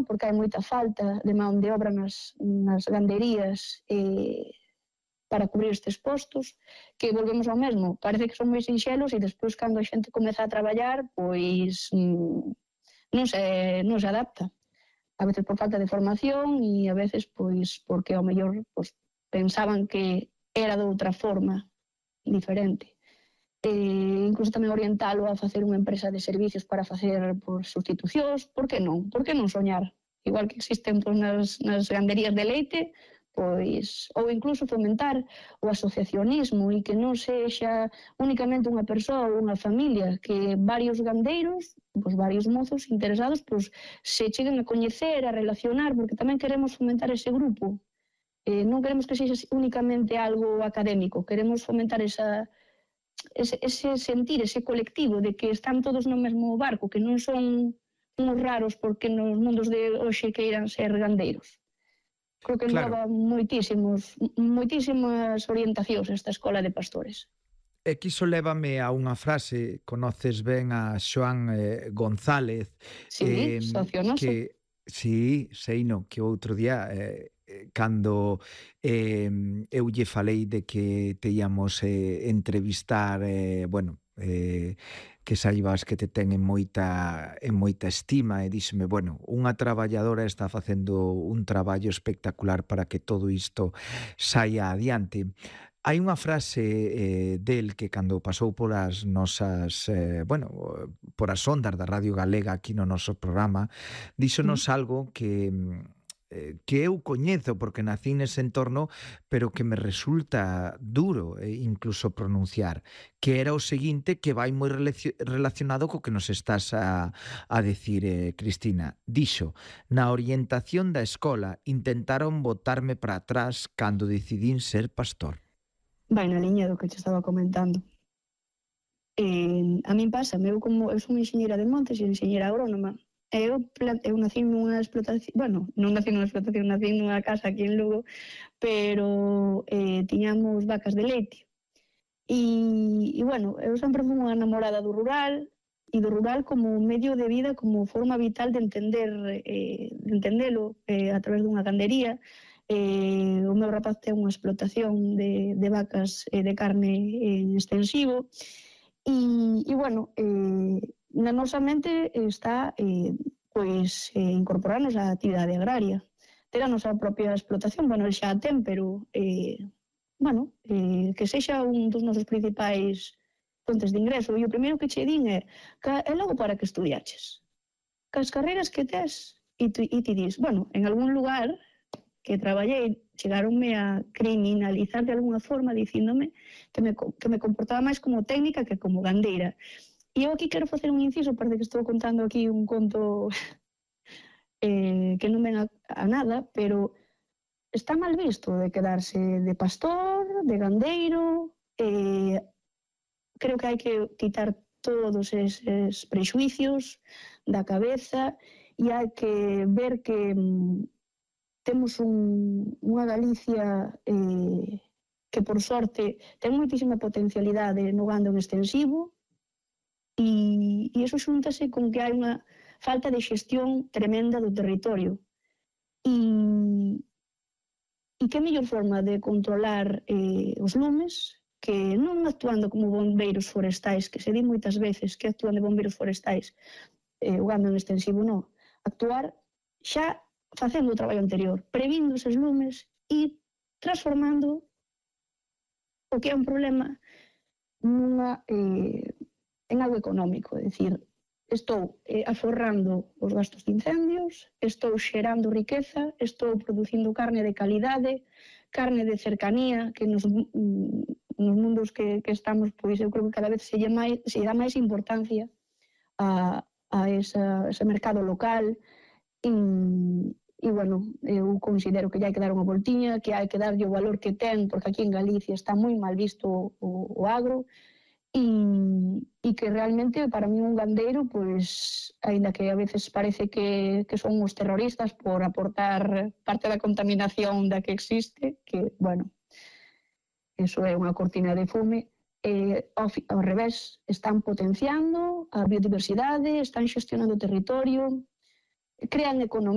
porque hai moita falta de man de obra nas ganderías para cubrir estes postos, que volvemos ao mesmo, parece que son moi sinxelos e despois cando a xente comeza a traballar, pois non se adapta. A veces por falta de formación e a veces pois porque ao mellor pensaban que era de outra forma diferente. Incluso tamén orientalo a facer unha empresa de servicios para facer sustitucións, por que non? Por que non soñar? Igual que existen nas ganderías de leite, pois, ou incluso fomentar o asociacionismo e que non sexa únicamente unha persoa ou unha familia, que varios gandeiros, varios mozos interesados, se cheguen a coñecer, a relacionar, porque tamén queremos fomentar ese grupo. Non queremos que sexa únicamente algo académico, queremos fomentar ese sentir, ese colectivo de que están todos no mesmo barco, que non son uns raros porque nos mundos de hoxe queiran ser gandeiros. Creo que engloba moitísimas orientacións esta escola de pastores. E quiso lévame a unha frase, conoces ben a Xoán González. Sí, socio noso. Sí, seino, que outro día, cando eu lle falei de que te íamos entrevistar, que saibas que te ten en moita estima, e díxeme, unha traballadora está facendo un traballo espectacular para que todo isto saia adiante. Hai unha frase del que cando pasou polas nosas, por as ondas da Radio Galega aquí no noso programa, díxonos algo que eu coñezo porque nací nese entorno, pero que me resulta duro incluso pronunciar, que era o seguinte, que vai moi relacionado co que nos estás a decir, Cristina. Dixo, na orientación da escola intentaron botarme para atrás cando decidín ser pastor. Vai na liña do que te estaba comentando. A min pasa, eu son enxeñera de montes e enxeñera agrónoma. Eu nací nunha explotación, non nací nunha explotación, nací nunha casa aquí en Lugo, pero tiñamos vacas de leite. Eu sempre fui unha namorada do rural, e do rural como medio de vida, como forma vital de entendelo a través dunha gandería. O meu rapaz ten unha explotación de vacas de carne en extensivo, na nosa mente está incorporarnos á actividade agraria, ter a nosa propia explotación, el xa a ten, pero que sexa un dos nosos principais fontes de ingreso. E o primeiro que che din é logo para que estudiaches. Cas carreiras que tes, e ti dis, en algún lugar que traballei, chegaronme a criminalizar de alguna forma dicíndome que me comportaba máis como técnica que como gandeira. E eu aquí quero facer un inciso, parece que estou contando aquí un conto que non ven a nada, pero está mal visto de quedarse de pastor, de gandeiro. Creo que hai que quitar todos eses prexuicios da cabeza e hai que ver que temos unha Galicia que, por sorte, ten moitísima potencialidade no gando en extensivo, e iso xuntase con que hai unha falta de xestión tremenda do territorio. E que mellor forma de controlar os lumes que non actuando como bombeiros forestais, que se di moitas veces que actúan de bombeiros forestais, o gando en extensivo non. Actuar xa facendo o traballo anterior, previndo eses lumes e transformando o que é un problema en algo económico, é dicir, estou aforrando os gastos de incendios, estou xerando riqueza, estou producindo carne de calidade, carne de cercanía, que nos mundos que estamos, pois eu creo que cada vez se dá máis importancia a ese mercado local. Eu considero que hai que dar unha voltiña, que hai que darlle o valor que ten, porque aquí en Galicia está moi mal visto o agro, e que realmente para mí un gandeiro, pois, aínda que a veces parece que son os terroristas por aportar parte da contaminación da que existe, que, eso é unha cortina de fume, ao revés, están potenciando a biodiversidade, están xestionando o territorio, crean economía.